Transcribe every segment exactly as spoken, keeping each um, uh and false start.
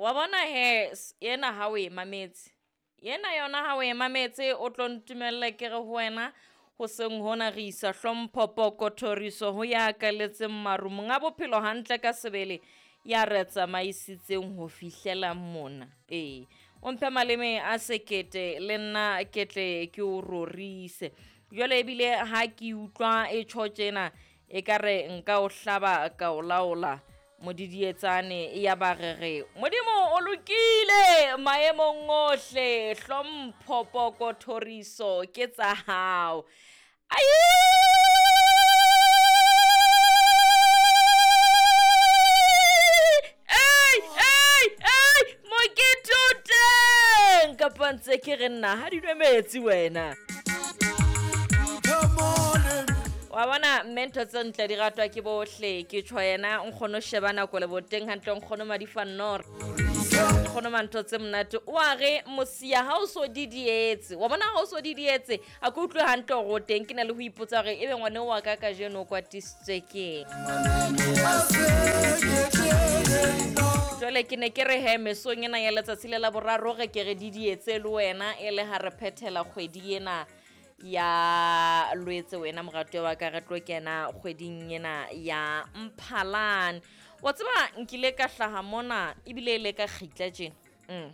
Wa bona he ena ha o e mametse. Ena yona ha o e mametse o tlo ntumella ke re ho wena hoseng hona re isa hlompho poko thoriso ho ya kaletseng maru monga bophelo hantle ka sebele ya re tsamaisitseng ho fihlela mona. Ee, o mphe maleme a sekete le nna ke tle ke o rorise. Jwale ebile ha ke utlwa e tjho tjena ekare nka o hlaba ka o laola modidietsane ya ba re re Modimo o lokile maemong ohle, hlompho poko thoriso ke tsa hao. Ai! Ei, ei, ei, mokete o teng kapa ntse ke re nna ha di nwe metsi wena. Wa bona mme ntho tse ntle di ratwa ke bohle, ke tjho yena nkgono sheba nako le boteng hantle nkgono Madifa Nnoro. Nkgono mantho tse monate o a re mosia ha o so didietse. Wa bona ha o so didietse a ke utlwe hantle hore o teng, ke na le ho ipotsa hore ebe ngwane wa ka kajeno o kwatisitswe keng. Jwale ke ne ke re he mesong ena ya letsatsi le la boraro re ke re didietse le wena e le ha re phethela kgwedi ena ya Lwetse wena moratuwa wa ka, re tlo kena kgweding ena ya Mphalane. Wa tseba nkile ka hlaha mona ebile e le ka kgitla tjena. Mm.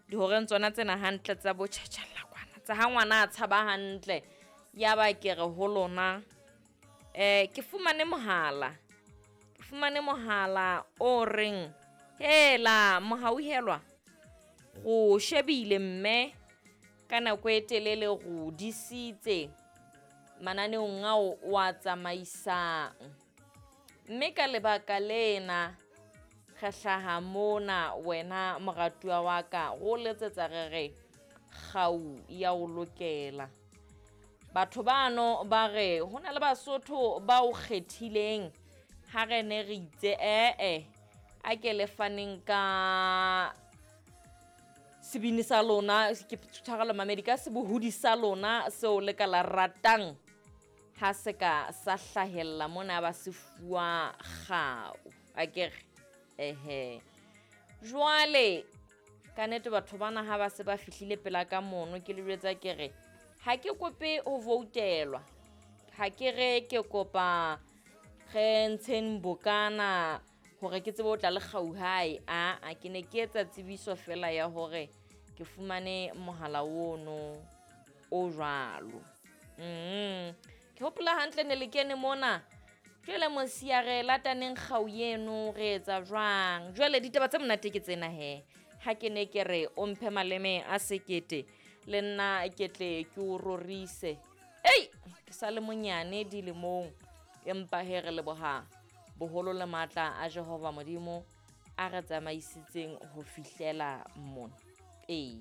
Dihoreng tsona tsena hantle tsa bo tjhatjhalla kwana tsa ha ngwana a tshaba hantle. Ya ba ke re ho lona eh ke fumane mohala. Ke fumane mohala o reng hela mohauhelwa go shebile mme ka nako e telele go disitse mananeong ao o a tsamaisang. Mme ka lebaka lena re hlaha mona wena moratuwa wa ka go letsetsa re re kgau ya o lokela. Batho bano ba re ho na le Basotho ba o kgethileng ha re ne re itse ee a ke le faneng ka sebini sa lona, ke tshwarelo mamedi, ka sebohodi sa lona seo le ka la ratang ha se ka sa hlahella mona ba se fuwa kgau. Akere ehe. Jwale ka nnete batho bana ha ba se ba fihlile pela ka mono ke le jwetsa ke re ha ke kope ho voutelwa, ha ke re ke kopa re ntsheng bokana hore ke tsebe ho tla le kgau hae. A a ke ne ke etsa tsebiso fela ya hore ke fumane mohala ono o jwalo. Mm. Ke hopola hantle ne le kene mona. Jwale mosia re lataneng kgau eno re etsa jwang? Jwale ditaba tse monate ke tsena he. Ha ke ne ke re o mphe maleme a sekete le nna ke tle ke o rorise. Ei, ke sa le monyane dilemong empa he re leboha boholo le matla a Jehova Modimo a re tsamaisitseng ho fihlela mona. Ee.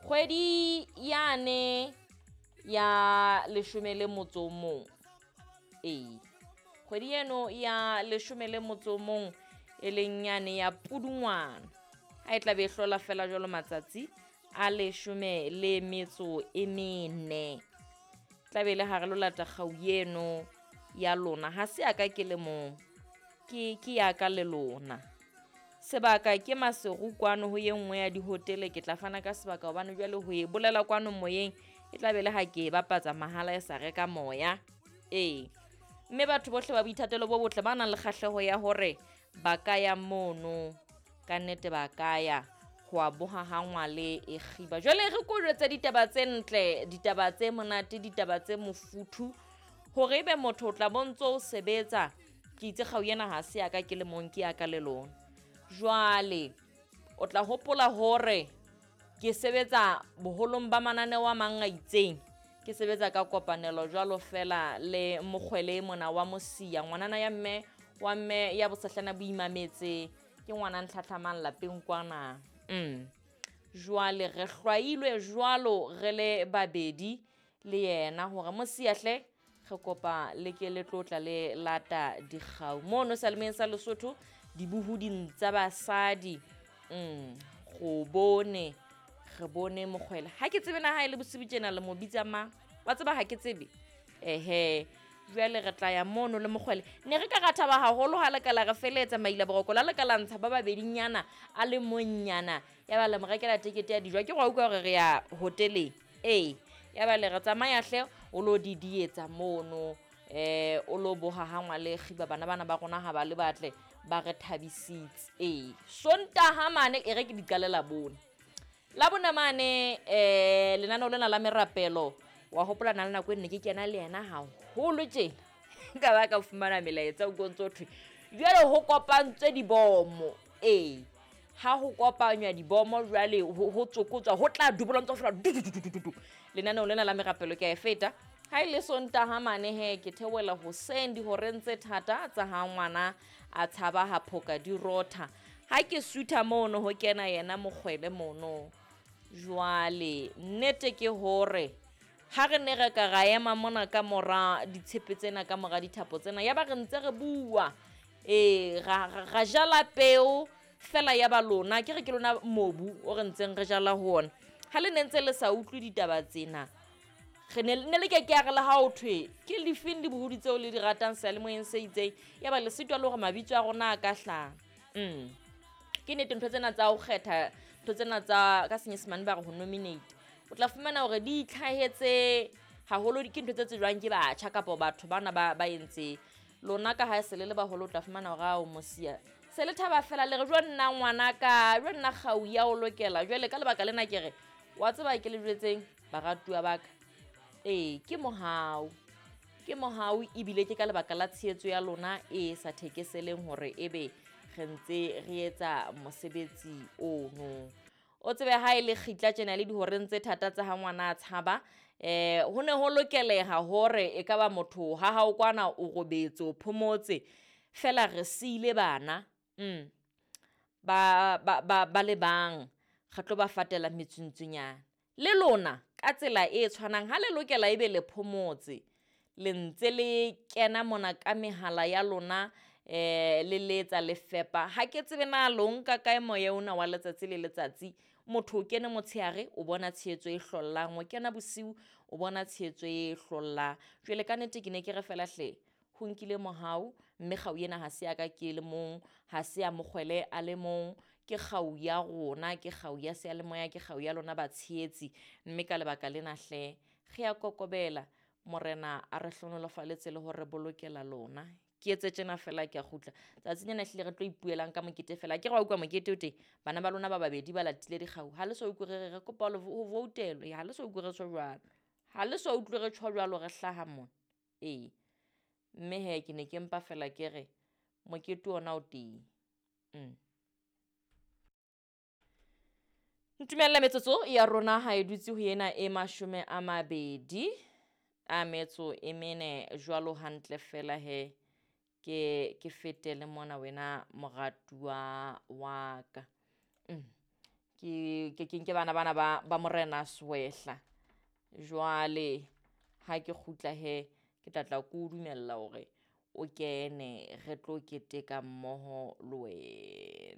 Kgwedi yane ya leshome le motso o mong. Ee. Kgwedi eno ya leshome le motso o mong e leng yane ya Pudungwana. Ha e tla be e hlola fela jwalo matsatsi a leshome le metso e mene. Tla be le ha re lo lata kgau eno ya lona. Ha se ya ka ke le mong. Ke, ke ya ka le lona. Sebaka ke Maseru kwano ho e nngwe ya dihotele, ke tla fana ka sebaka hobane jwale ho e bolela kwano moyeng e tla be le ha ke e bapatsa mahala e sa reka moya. Ee. Mme batho bohle ba boithatelo bo botle ba nang le kgahleho ya hore ba ka ya mono, ka nnete ba ka ya ho a boha ha ngwale e kgiba. Jwale re ko jwetse ditaba tse ntle, ditaba tse monate, ditaba tse mofuthu hore ebe motho o tla bontso o sebetsa. Ke itse kgau ena ha se ya ka ke le mong, ke ya ka le lona. Jwale o tla hopola hore ke sebetsa boholong ba mananeo a mang a itseng. Ke sebetsa ka kopanelo jwalo fela le mokgwele mona wa mosia, ngwanana ya mme wa mme ya bosehlana bo imametse, ke ngwana ntlhatlhamang lapeng kwana. Mm. Jwale re hlwailwe jwalo re le babedi le yena hore mosia hle re kopa le ke le tlotla le lata dikgau mono Salemeng sa Lesotho dibohuding tsa basadi. Mm, go bone re bone mokgwele. Ha ke tsebe na ha e le bosibu tjena le mo bitsa mang, wa tseba ha ke tsebe. Ehe, Jwale re tla ya mono le mokgwele. Ne re ka ra thaba haholo ha le ka la re feletsa maila boroko la le ka la ntsha ba babedinyana a le monnyana. Ya ba le mo rekela tekete ya dijo. Ke go utlwa hore re ya hoteleng. Ee, ya ba le re tsamaya hle o lo di dietsa mono. Eh, o lo boha ha ngwale kgiba bana bana ba rona ha ba le batle ba re thabisitse. Ee, Sontaha mane e re ke di qalela bone. La bone mane eh lenaneo lena la merapelo wa hopola na le nako e nne ke kena le yena haholo tjena. Ka ba ka fumana melaetsa o ntso thwe jwale ho kopantswe dibomo. Ee, ha ho kopanywa dibomo jwale ho tsokotswa ho tla dubola ntso fela du du du du du. Lenaneo lena la merapelo ke a e feta. Ha ile Sontaha mane he ke theohela hoseng dihoreng tse thata tsa ha ngwana a tshaba ha phoka di rotha. Ha ke sutha mono ho kena yena mokgwele mono. Jwale nnete ke hore ha re ne re ka ra ema mona ka mora ditshepe tsena ka mora dithapo tsena ya ba re ntse re bua. Ee, ra ra jala peo fela ya ba lona ke re ke lona mobu o re ntseng re jala ho ona. Ha le ne ntse le sa utlwe ditaba tsena re ne ne le ke ke ya re le ha o thwe ke lefeng dibohodi tseo le di ratang seyalemoyeng se itseng ya ba le sitwa le hore mabitso a rona a ka hlaha. Mm. Ke nnete ntho tsena tsa ho kgetha ntho tsena tsa ka senyesemane ba re ho nominate. O tla fumana hore di itlhahetse haholo ke ntho tse tsejwang ke batjha kapa batho bana ba ba entse. Lona ka ha se le le baholo o tla fumana hore a o mosia. Se le thaba fela le re jwa nna ngwana ka, jwa nna kgau ya o lokela. Jwale ka lebaka lena ke re wa tseba ke le jwetseng baratuwa ba ka. Ee, ke mohau. Ke mohau ebile ke ka lebaka la tshehetso ya lona e sa thekeseleng hore ebe re ntse re etsa mosebetsi ono. O tsebe ha e le kgitla tjena le dihoreng tse thata tsa ha ngwana a tshaba, eh ho ne ho lokeleha hore e ka ba motho ha hao kwana o robetse o phomotse fela re siile bana. Mm. Ba ba ba ba le bang re tlo ba fatela metsuntsunyana. Le lona ka tsela e tshwanang ha le lokela ebe le phomotse le ntse le kena mona ka mehala ya lona eh le letsa le fepa. Ha ke tsebe na lo nka kae moya ona wa letsatsi le letsatsi. Motho o kene motshehare o bona tshehetso e hlollang, o kena bosiu o bona tshehetso e hlollang. Jwale ka nnete ke ne ke re fela hle ho nkile mohau mme kgau ena ha se ya ka ke le mong, ha se ya mokgwele a le mong, ke kgau ya rona, ke kgau ya seyalemoya, ke kgau ya lona batshehetsi. Mme ka lebaka lena hle re ya kokobela morena a re hlohonolofaletse le hore bolokela lona. Ke etse tjena fela ke a kgutla. Tsatsing lena ehlile re tlo ipuelang ka mokete fela. Ke re wa utlwa mokete o teng bana ba lona ba babedi ba latile dikgau. Ha le so utlwe re re re kopa ho voutelwa. Ha le so utlwe re tjho jwalo. Ha le so utlwe re tjho jwalo re hlaha mona. Ee. Mme he ke ne ke mpa fela ke re mokete ona o teng. Mm. Ntumelle metsotso ya rona ha e dutse ho ena e mashome a mabedi a metso e mene jwalo hantle fela he ke ke fetele mona wena moratuwa wa ka. Mm. Ke ke ke nke bana bana ba ba morena Swehla. Jwale ha ke kgutla he ke tla tla ko dumella hore o kene re tlo keteka mmoho le wena.